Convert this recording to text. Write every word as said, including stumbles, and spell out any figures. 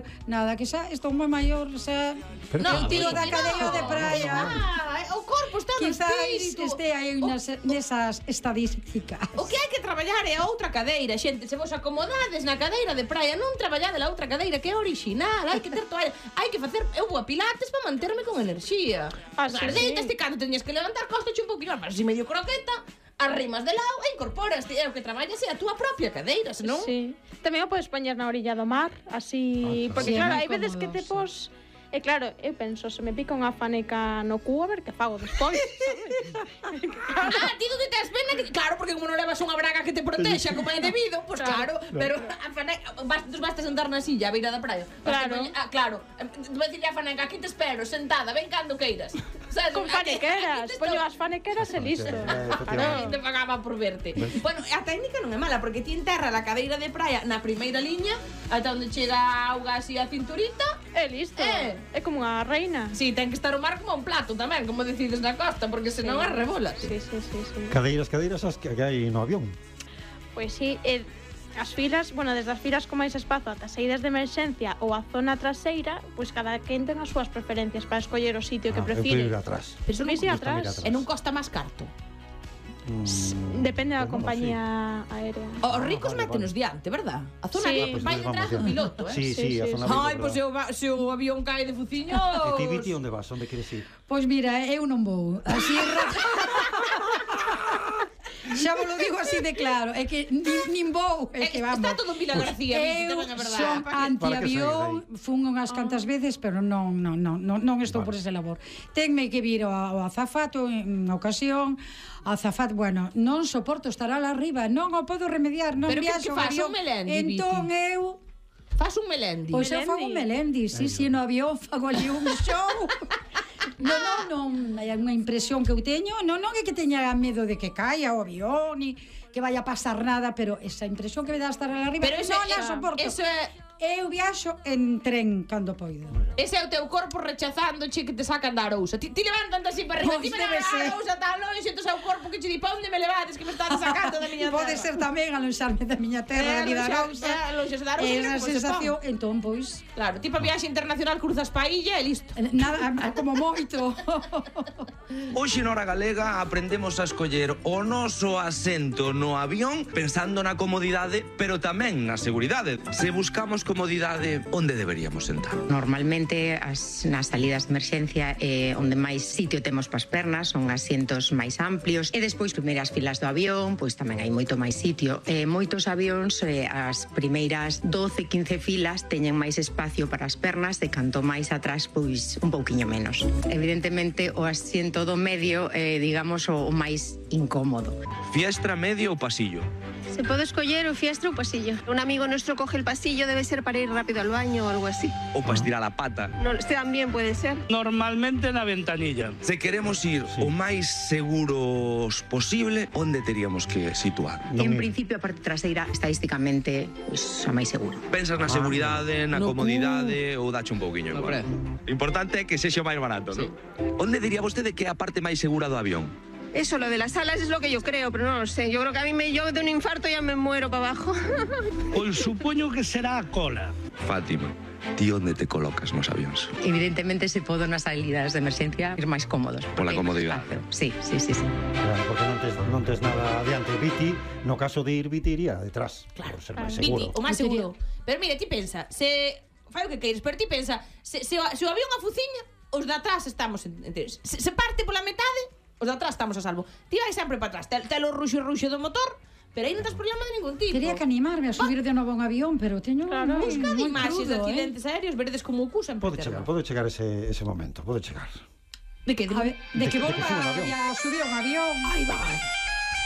eu, nada, que xa estou moi maior, xa non tiro da cadeira de praia. O corpo está no espírito. Quizás este aí nesas estadísticas. O que hai que traballar é a outra cadeira, xente, se vos acomodades na cadeira de praia, non traballade a outra cadeira que é original, hai que ter toalla, hai que facer, eu vou a pilates para manterme con enerxía. Deitas, ti cando teñes que levantar costache un pouquinho, mas así medio croqueta, arrimas de lado e incorporas, é o que traballas é a túa propia cadeira, senón... Sí. Tamén o podes poñer na orilla do mar, así, porque claro, hai veces que te pos... E claro, eu penso, se me pica unha faneca no cu, a ver que fago despois, sabes? Ah, ti donde tes pena que... Claro, porque como non levas unha braga que te protexa como é debido, pois claro, pero a faneca... Bastos bastas sentar na silla a beira da praia. Claro. Ah, claro. Vai dicirle a faneca, aquí te espero, sentada, ven cando queiras. Con fanequeras, poño as fanequeras e listo. Claro, te pagaba por verte. Bueno, a técnica non é mala, porque ti enterra a cadeira de praia na primeira liña, ata onde chega a auga así a cinturita, e listo. É como unha reina. Si, ten que estar o mar como un plato tamén, como decides na costa, porque senón as rebolas. Sí, sí, sí, sí. Cadeiras, cadeiras as que hai no avión. Pois si, eh, as filas, bueno, desde as filas con máis espazo ata saídas de emerxencia ou a zona traseira, pois cada quen ten as súas preferencias para escoller o sitio que Ah, eu prefire. prefiro ir atrás. Pero Subís non ir atrás. E non costa máis carto. Mm, Depende da pues non compañía aérea. Os ricos vale, métenos vale. diante, verdad? A zona Sí. que Ah, pues vai entonces detrás vamos do ya. piloto, eh? Sí, sí, Sí, a sí, zona sí. Ai, verde, pois se verdad. o, se o avión cae de fuciños... E ti, Viti, onde vas? Onde queres ir? Pois mira, eu non vou. Así xa vos lo digo así de claro, é que nin, nin vou, é que vamos. Está todo en Vila García, Viti, Eu tamén é verdad. son antiavión, Para que fun unhas cantas veces, pero non, non, non, non, non estou por ese labor. Tenme que vir ao azafato en ocasión, azafato, bueno, non soporto estar ala arriba, non o podo remediar, non Pero que- viaxo que en fas, avión. un melendi, Entón Viti? eu Fas un melendi. Pois eu fago un melendi, si, si, no avión fago ali un show. Non, non, non, hai unha impresión que eu teño, non, non é que teña medo de que caia o avión, ni que vaya a pasar nada, pero esa impresión que me dá estar ali arriba, Pero eso non é- a soporto. eso é- Eu viaxo en tren cando poido. Ese é o teu corpo rechazándoche que te sacan da arousa. Ti, ti levantante así para arriba, Pois ti me debe levan ser. a arousa tan longe, entón é o corpo que che di, pa onde me levades, que me estás sacando da miña terra. Pode ser tamén alonxarme da miña terra, da vida alonxarse, Arousa. alonxarse da Arousa, É que esa como se sensación, pon. entón, pois, Claro, ti pa viaxe internacional cruzas pa illa e listo. nada, como moito. Hoxe na Hora Galega aprendemos a escoller o noso asento no avión pensando na comodidade, pero tamén na seguridade. Se buscamos comodidade, onde deberíamos sentar? Normalmente as, nas salidas de emerxencia eh, onde máis sitio temos pas pernas son asientos máis amplios e despois primeiras filas do avión pois tamén hai moito máis sitio e moitos avións eh, as primeiras doce quince filas teñen máis espacio para as pernas e canto máis atrás pois un pouquiño menos. Evidentemente o asiento do medio eh, digamos o, o máis incómodo. Fiestra, medio ou pasillo? Se pode escoller o fiestra ou pasillo. Un amigo nuestro coge el pasillo, debe ser para ir rápido al baño o algo así. Ou para estirar a pata? No, este también puede ser. Normalmente na ventanilla. Se queremos ir o máis seguros posible, onde teríamos que situar? En principio a parte traseira estadísticamente pois, a máis segura. Pensas na seguridade, na No comodidade ou dache un pouquiño igual? Importante é que sexa o máis barato, non? Onde diría vostede que é a parte máis segura do avión? Eso, lo de las alas es lo que yo creo, pero no lo sé. Yo creo que a mí me, yo de un infarto ya me muero para abajo. Pois supoño que será a cola. Fátima, ti onde te colocas nos avións? Evidentemente se podo nas salidas de emerxencia ir máis cómodos. Pola porque hai máis comodidade. espacio. Sí, sí, sí, sí. Claro, porque non tes, non tes nada adiante. Viti, no caso de ir, Viti iría detrás. Claro, por ser máis Viti, seguro. o máis Eu seguro. Pero mira, ti pensa, se fai o que queires, pero ti pensa, se, se, o- se o avión afuciña, os de atrás estamos enteros. Se, se parte pola metade, os de atrás estamos a salvo. Ti vai sempre para atrás, tel, tel o ruxo ruxo do motor, pero aí non tens problema de ningún tipo. Quería que animarme a subir de novo a un avión, pero teño Claro. moi, Buscad moi imaxes de crudo, eh. accidentes aéreos, veredes como o cu sempre Pode chegar, pode chegar ese, ese momento, pode chegar. De que? De, A ver, de que de vou que suba un avión. a subir a un avión. Ai, vai.